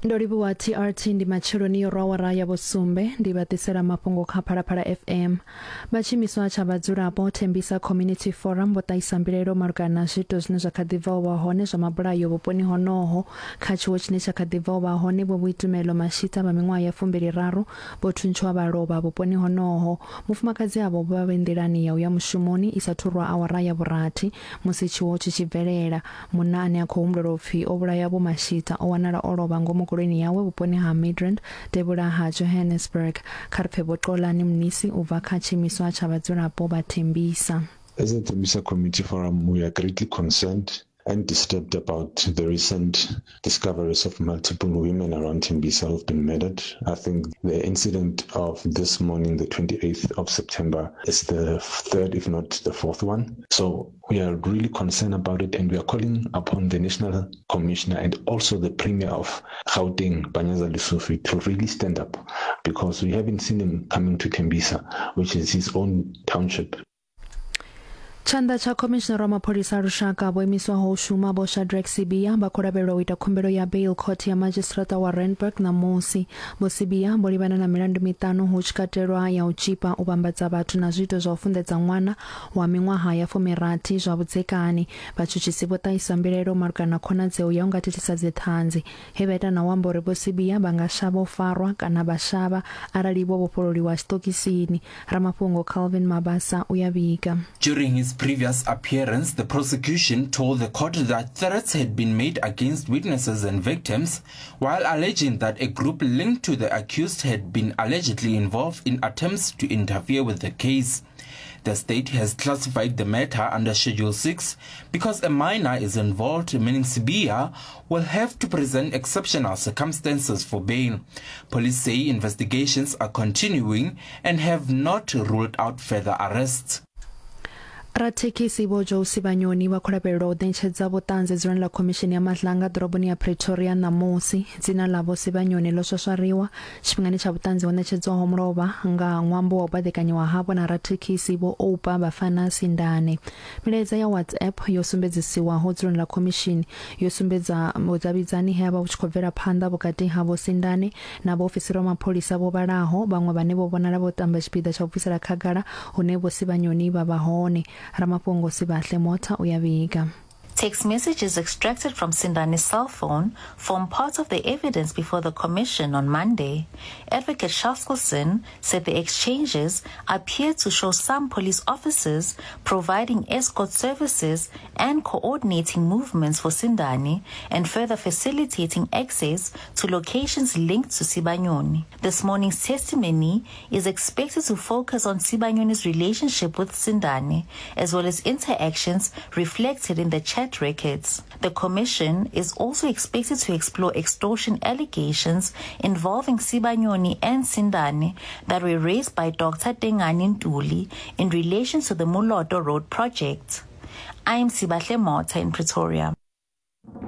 Ndo livhuwa TRT ndi matsheloni yo rwa awara ya vhusumbe ndi vha ḓisela mafhungo kha Phalaphala FM. Vha tshiimiswa tsha vhadzulapo Thembisa Community Forum vho ṱahisa mbilaelo malugana na zwiito zwine zwa kha ḓi bva u vha hone zwa mabulayo vhuponi honoho. Kha tshiwo tshine tsha kha ḓi bva u vha hone Vho Boitumelo Mashita vha miṅwaha ya fumbili raru vho thuntshiwa vha lovha vhuponi honoho. Mufumakadzi avho vho vha vhe nḓilani ya u ya mushumoni i sa thu rwa awara ya vhurathi musi tshiwo tshi tshi bvelela. Munna ane a khou humbulelwa u pfi o vhulaya Vho Mashita o wanala o lovha ngomu goloini yawe vhuponi ha Midrand, devhula ha Johannesburg. Kha ri pfe Vho Xolani Mnisi u bva kha tshiimiswa tsha vhadzulapo vha Tembisa. As a Tembisa Community Forum, we are greatly concerned and disturbed about the recent discoveries of multiple women around Tembisa who've been murdered. I think the incident of this morning, the 28th of September, is the third, if not the fourth one. So we are really concerned about it and we are calling upon the National Commissioner and also the Premier of Gauteng, Panyaza Lesufi, to really stand up because we haven't seen him coming to Tembisa, which is his own township. Tshanḓa tsha khomishinara wa mapholisa a lushaka vho imiswaho u shuma Vho Shadrack Sibiya vha khou lavhelelwa u ita khumbelo ya bail khothe ya madzhisiṱiraṱa wa Randburg ṋamusi. Vho Sibiya vho livhana na milandu miṱanu hu tshi katelwa ya u tzhipa, u vhambadza vhathu na zwiito zwa u funḓedza ṅwana wa miṅwaha ya fumirathi zwa vhudzekani. Vhatshutshisi vho ṱahisa mbilaelo malugana na khonadzeo ya u nga thithisa dziṱhanzi he vha ita na u amba uri Vho Sibiya vha nga shavha u farwa kana vha shavha arali vho vhofhololiwa tshiṱokisini. Ramafhungo Calvin Mabasa u ya vhiga. During his previous appearance, the prosecution told the court that threats had been made against witnesses and victims, while alleging that a group linked to the accused had been allegedly involved in attempts to interfere with the case. The state has classified the matter under Schedule 6 because a minor is involved, meaning Sibiya will have to present exceptional circumstances for bail. Police say investigations are continuing and have not ruled out further arrests. Rathekhisi Vho Joe Sibanyoni vha khou lavhelelwa u ṋetshedza vhuṱanzi dzuloni ḽa Khomishini ya Madlanga ḓoroboni ya Pretoria ṋamusi. Dzina ḽa Vho Sibanyoni ḽo swaswariwa tshifhingani tsha vhuṱanzi ho ṋetshedzwaho mulovha nga ṅwambo wa u baḓekanyiwa havho na rathekhisi Vho Oupa Bafana Sindane. Milaedza ya WhatsApp yo sumbedzisiwaho dzuloni ḽa khomishini yo sumbedza vhudavhidzani he ha vha vhu tshi khou bvela phanḓa vhukati ha Vho Sindane na vhaofisiri vha mapholisa vho vhalaho, vhaṅwe vhane vho vhonala vho tamba tshipiḓa tsha u bvisela khagala hune Vho Sibanyoni vha vha hone. Ramafhungo Sibahle Motha u ya vhiga. Text messages extracted from Sindani's cell phone form part of the evidence before the commission on Monday. Advocate Chaskelson said the exchanges appear to show some police officers providing escort services and coordinating movements for Sindani and further facilitating access to locations linked to Sibanyoni. This morning's testimony is expected to focus on Sibanyoni's relationship with Sindani, as well as interactions reflected in the chat records. The commission is also expected to explore extortion allegations involving Sibanyoni and Sindani that were raised by Dr. Tengani Ntuli in relation to the Muloto Road project. I'm Sibahle Mota in Pretoria.